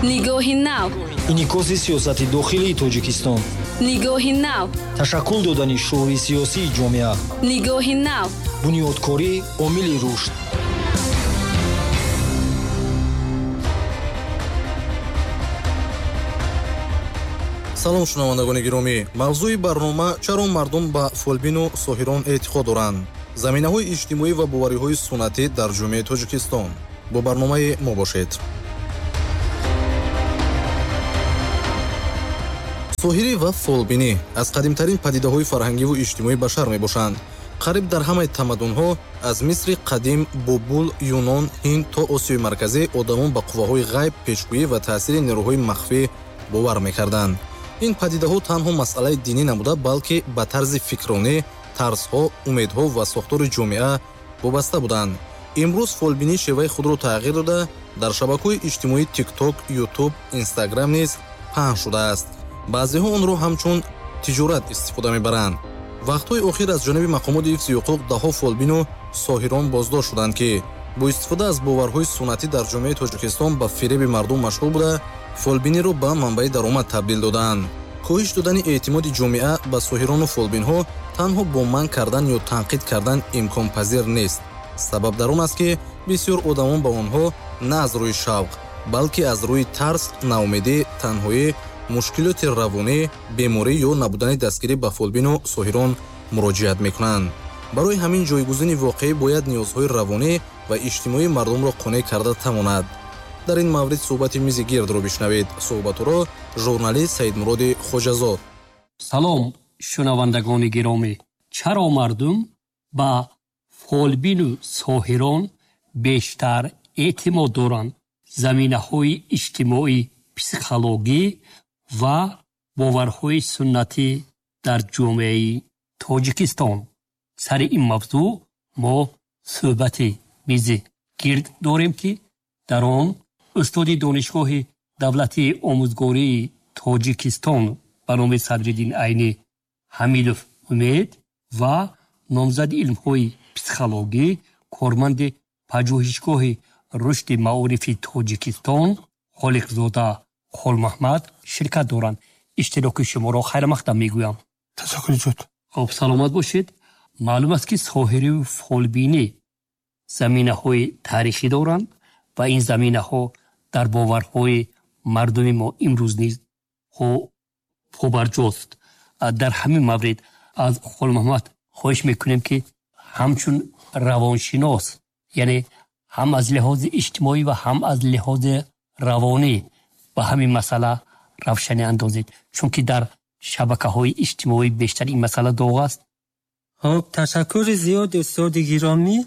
Нигоҳи нав. Инъикоси сиёсати дохилии Тоҷикистон. Нигоҳи нав. Ташаккул додани шуури сиёсии ҷомеа. Нигоҳи нав. Бунёдкорӣ омили рушд. Салом, шунавандагони гиромӣ. Мавзӯи барнома: чаро мардум ба фолбину соҳирон эътиқод доранд? Заминаҳои иҷтимоӣ ва бовариҳои суннатӣ дар ҷомеаи Тоҷикистон. Бо барномаи мо бошед. Соҳирӣ ва фолбинӣ аз қадимтарин падидаҳои фарҳангиву иҷтимоии башар мебошанд. Қариб дар ҳамаи тамаддунҳо аз Мисри қадим, Бобул, Юнон, Ҳинд то Осиёи Марказӣ одамон ба қувваҳои ғайб, пешгӯӣ ва таъсири нерӯҳои махфӣ бовар мекарданд. Ин падидаҳо танҳо масъалаи динӣ набуда, балки ба тарзи фикронӣ, тарсҳо, умедҳо ва сохтори ҷомеа вобаста буданд. Имрӯз фолбинӣ шеваи худро тағйир дода, дар шабакаҳои иҷтимоии TikTok, YouTube, Instagram низ паҳн шудааст. Баъзеҳо онро ҳамчун тиҷорат истифода мебаранд. Вақтҳои охир аз ҷониби мақомоти ҳифзи ҳуқуқ даҳҳо фолбину соҳирон боздошт шуданд, ки бо истифода аз боварҳои суннатӣ дар ҷомеаи Тоҷикистон ба фиреби мардум машғул буда, фолбиниро ба манбаи даромад табдил доданд. Коҳиш додани эътимоди ҷомеа ба соҳирону фолбинҳо танҳо бо манъ кардан ё танқид кардан имконпазир нест. Сабаб дар он аст, ки бисёр одамон ба онҳо на аз рӯи шавқ, балки аз рӯи тарс, ноумедӣ, танҳоӣ, мушкилоти равонӣ, беморӣ ё набудани дастгирӣ ба фолбину соҳирон муроҷиат мекунанд. Барои ҳамин ҷойгузини воқеӣ бояд ниёзҳои равонӣ ва иҷтимоии мардумро қонеъ карда тавонад. Дар ин маврид суҳбати мизи гирдро бишнавед. Суҳбатро журналист Саидмуроди Хоҷазод. Салом, шунавандагони гиромӣ. Чаро мардум ба фолбину соҳирон бештар эътимод доранд? Заминаҳои иҷтимоӣ, психологӣ ва боварҳои суннатӣ дар ҷомеаи Тоҷикистон. Сари ин мавзӯъ мо суҳбати мизи гирд дорем, ки дар он устоди Донишгоҳи давлатии омӯзгории Тоҷикистон ба номи Садриддин Айнӣ Ҳамидов Умед ва номзади илмҳои психологӣ, корманди пажӯҳишгоҳи рушди маорифи Тоҷикистон Холиқзода Холмаҳмад ширкат доранд. Иштироки шуморо хайрмақдам мегӯям. Ташаккур зиёд. Хуб, саломат бошед. Маълум аст, ки соҳирию фолбинӣ заминаҳои таърихӣ доранд ва ин заминаҳо дар боварҳои мардуми мо имрӯз низ побарҷост. Дар ҳамин маврид аз Холмаҳмад хоҳиш мекунем, ки ҳамчун равоншинос, яъне ҳам аз лиҳози иҷтимоӣ ва ҳам аз лиҳози равонӣ ба ҳамин масъала равшанӣ андозед, чунки дар шабакаҳои иҷтимоӣ бештар ин масъала доғ аст. Хуб, ташаккури зиёд, устоди гиромӣ.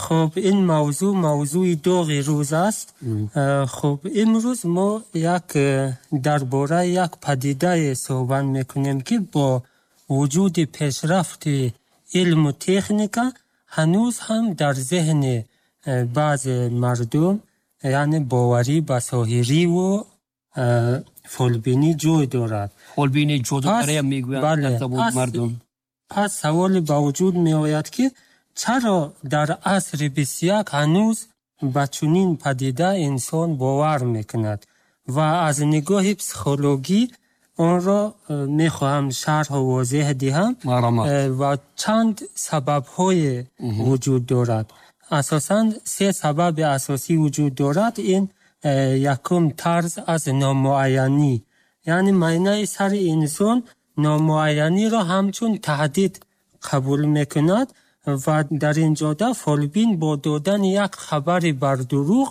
Хуб, ин мавзӯъ мавзӯи доғи рӯз аст. Хуб, имрӯз мо як дар бораи як падидае суҳбат мекунем, ки бо вуҷуди пешрафти илму техника ҳанӯз ҳам дар зеҳни баъзе мардум, яъне боварӣ ба соҳириву фолбинӣ ҷой дорад. Фолбинӣ ҷодугария мегӯянд дар забони мардум. Пас саволе ба вуҷуд меояд, ки чаро дар асри 21 ҳанӯз ба чунин падида инсон бовар мекунад ва аз нигоҳи психологӣ онро мехоҳам шарҳу возеҳ диҳам ва чанд сабабҳое вуҷуд дорад. Асосан се сабаби асосӣ вуҷуд дорад. Ин якум тарз аз номуайянӣ, яъне майнаи сари инсон номуайяниро ҳамчун таҳдид қабул мекунад ва дар ин ҷода фолбин бо додани як хабари бардурӯғ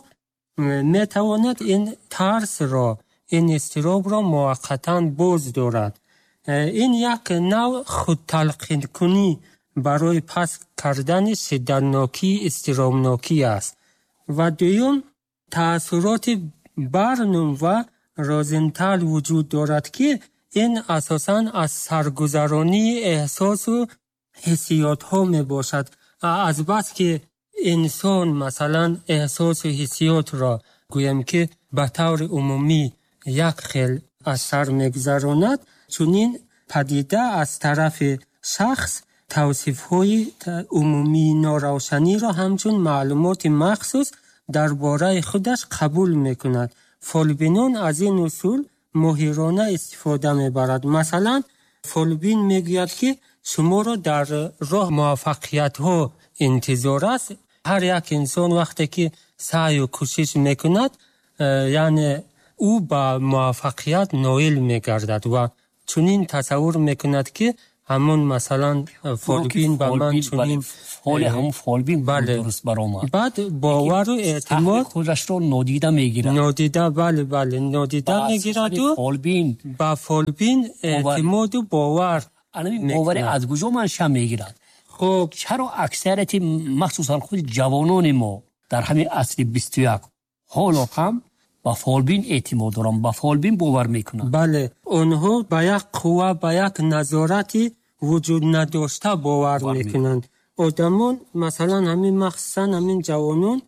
метавонад ин тарсро, ин изтиробро муваққатан боз дорад. Ин як нав худталқинкунӣ барои паст кардани шиддатнокии изтиробнокӣ аст. Ва дуюм, таассуроти Барнум ва Розентал вуҷуд дорад, ки ин асосан аз саргузаронии эҳсосу ҳиссиётҳо мебошад. Азбаски инсон масалан эҳсосу ҳиссиётро гӯем, ки ба таври умумӣ як хел аз сар мегузаронад, чунин падида аз тарафи шахс тавсифҳои умумии норавшаниро ҳамчун маълумоти махсус дар бораи худаш қабул мекунад. Фолбинон аз ин усул моҳирона истифода мебарад. Масалан, фолбин мегӯяд, ки шуморо дар роҳ муваффақиятҳо интизор аст. Ҳар як инсон вақте ки саъю кӯшиш мекунад, яъне ӯ ба муваффақият ноил мегардад ва чунин тасаввур мекунад, ки ҳамон масалан фолбин ба ман чунин фоли ҳамон фолбин дуруст баромад. Баъд бовару эътимод худашро нодида мегирад. Нодида, бале, бале, нодида мегираду фолбин ба фолбин эътимоду бовар. Ана бовари аз куҷо манша мегирад? Хуб, чаро аксарияти махсусан худи ҷавонони мо дар ҳамин асри 21 ҳоло ҳам ба фолбин эътимод доранд, ба фолбин бовар мекунанд? Бале, онҳо ба як қувва, ба як назорати вуҷуд надошта бовар мекунанд. Одамон, масалан, ҳамин махсусан ҳамин ҷавонон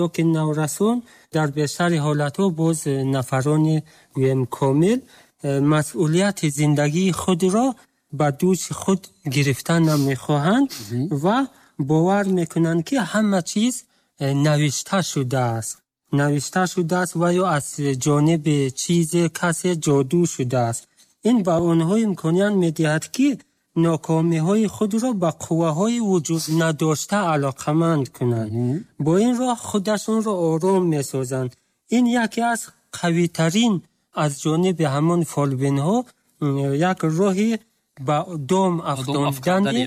ё ки наврасон, дар бештари ҳолатҳо боз нафарони гӯем комил масъулияти зиндагии худро ба дӯши худ гирифта намехоҳанд ва бовар мекунанд, ки ҳама чиз навишта шудааст. Навишта шудааст ва ё аз ҷониби чизе касе ҷоду шудааст. Ин ба онҳо имконият медиҳад, ки нокомиҳои худро ба қувваҳои вуҷуд надошта алоқаманд кунанд. Бо ин роҳ худашонро ором месозанд. Ин яке аз қавитарин аз ҷониби ҳамон фолбинҳо як роҳи ба дом афтондани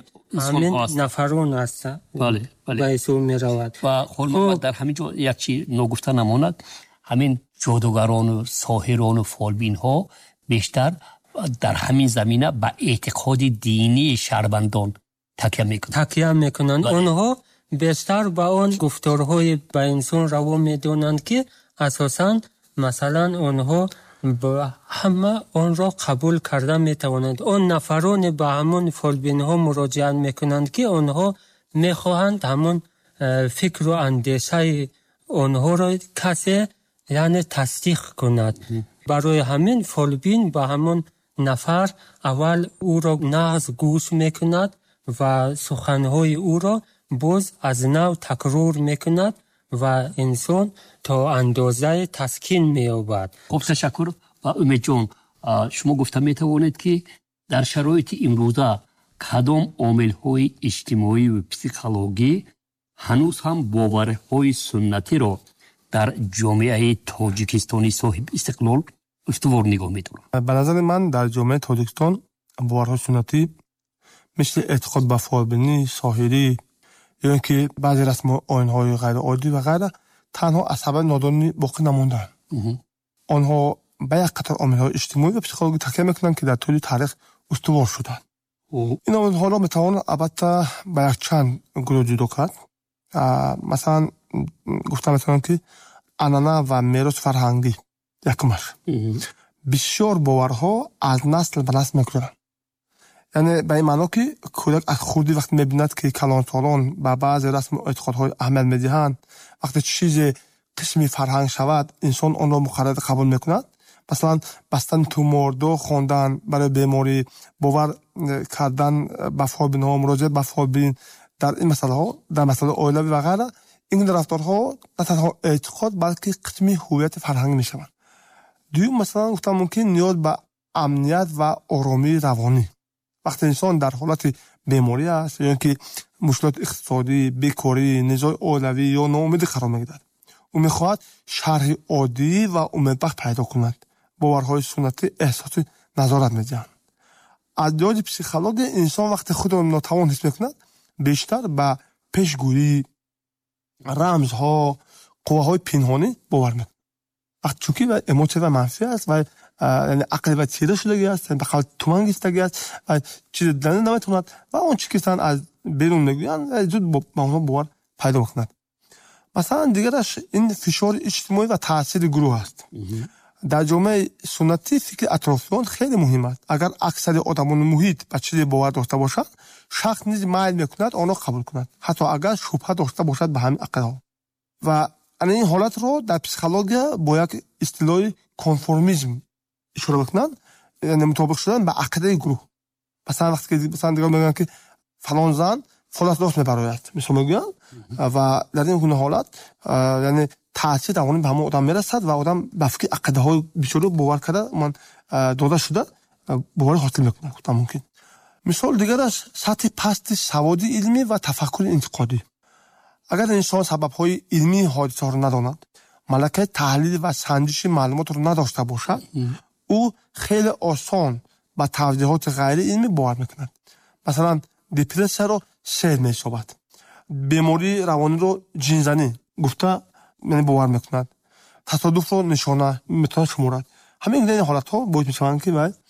ҳамин нафарон аст. Бале, бале. Ба ҳисоб меравад. Ва Холмуҳаммад, дар ҳамин ҷо як чи ногуфта намонад. Ҳамин ҷодугарону соҳирону фолбинҳо бештар дар ҳамин замина ба эътиқоди динии шаҳрвандон такя мекунанд. Такя мекунанд. Онҳо бештар ба он гуфторҳои ба инсон раво медонанд, ки асосан масалан онҳо ҳама онро қабул карда метавонанд. Он нафароне ба ҳамон фолбинҳо муроҷиат мекунанд, ки онҳо мехоҳанд ҳамон фикру андешаи онҳоро касе яъне тасдиқ кунад. Барои ҳамин фолбин ба ҳамон нафар аввал ӯро нағз гӯш мекунад ва суханҳои ӯро боз аз нав такрор мекунад ва инсон то андозае таскин меёбад. Хуб, ташаккур. Ва Умедҷон, шумо гуфта метавонед, ки дар шароити имрӯза кадом омилҳои иҷтимоию психологӣ ҳанӯз ҳам боварҳои суннатиро дар ҷомеаи Тоҷикистони соҳиби истиқлол устувор нигоҳ медоранд? Ба назари ман, дар ҷомеаи Тоҷикистон боварҳои суннатӣ мисли эътиқод ба фолбинӣ, соҳирӣ ё ин ки баъзе расму оинҳои ғайриоддӣ ва ғайра танҳо аз сабаби нодонӣ боқӣ намондаанд. Онҳо ба як қатор омилҳои иҷтимоӣ ва психологӣ такя мекунанд, ки дар тӯли таърих устувор шуданд. Ин омилҳоро метавон албатта ба якчанд гурӯҳ ҷудо кард. Масалан, гуфта метавонам, ки анъана ва мероси фарҳангӣ якумаш. Бисёр боварҳо аз насл ба насл мегузаранд. Яъне ба ин маъно, ки кӯдак аз хурдӣ вақте мебинад, ки калонсолон ба баъзе расму эътиқодҳои аҳамият медиҳанд, вақте чизе қисми фарҳанг шавад, инсон онро муқаррар қабул мекунад. Масалан, бастани тумор, дуо хондан барои беморӣ, бовар кардан ба фолбинҳо, муроҷиат ба фолбин дар ин масъалаҳо, дар масъалаи оилавӣ ва ғайра, ин гуна рафторҳо на танҳо эътиқод, балки қисми ҳуввияти фарҳангӣ мешаванд. Дуюм, масалан, гуфтан мумкин, ниёз ба амният ва оромии равонӣ. Вақте инсон дар ҳолати беморӣ аст ё ин ки мушкилоти иқтисодӣ, бекорӣ, низои оилавӣ ё ноумедӣ қарор мегирад, ӯ мехоҳад шарҳи оддӣ ва умедбахш пайдо кунад. Боварҳои суннатӣ эҳсоси назорат медиҳанд. Аз лиҳози психология, инсон вақте худро нотавон ҳис мекунад, бештар ба пешгӯӣ, рамзҳо, қувваҳои пинҳонӣ бовар мекунад. Вақт чунки эмотсия ва манфӣ аст ва яъне ақли ва тира шудагӣ аст, ба қавли туман гирифтагӣ аст ва чизе дида наметавонад ва он чи ки аз берун мегӯянд, зуд ба онҳо бовар пайдо мекунад. Масалан, дигараш ин фишори иҷтимоӣ ва таъсири гурӯҳ аст. Дар ҷомеаи суннатӣ фикри атрофиён хеле муҳим аст. Агар аксари одамони муҳит ба чизе бовар дошта бошанд, шахс низ майл мекунад онро қабул кунад, ҳатто агар шубҳа дошта бошад ба ҳамин ақидаҳо. Ва ана ин ҳолатро дар психология бо як истилоҳи конформизм ишора мекунанд, яъне мутобиқ шудан ба ақидаи гурӯҳ. Масалан, вақте ки масалан дигар мегӯянд, ки фалон зан фолат рост мебарояд, мисол мегӯянд, ва дар ин гуна ҳолат яъне Таъсири равонӣ ба ҳамон одам мерасад ва одам ба фикри ақидаҳои бисёрро бовар карда, ман дода шуда боварӣ ҳосил мекунад, гуфтан мумкин. Мисол дигараш сатҳи пасти саводи илмӣ ва тафаккури интиқодӣ. Агар инсон сабабҳои илмии ҳодисаҳоро надонад, малакаи таҳлил ва санҷиши маълумотро надошта бошад, ӯ хеле осон ба тавзеҳоти ғайриилмӣ бовар мекунад. Масалан, депрессияро сеҳр меҳисобад, бемории равониро ҷинзанӣ гуфта бовар мекунад, тасодуфро нишона метавонад шуморад. Ҳамин гуна ҳолатҳо боис мешаванд, ки вай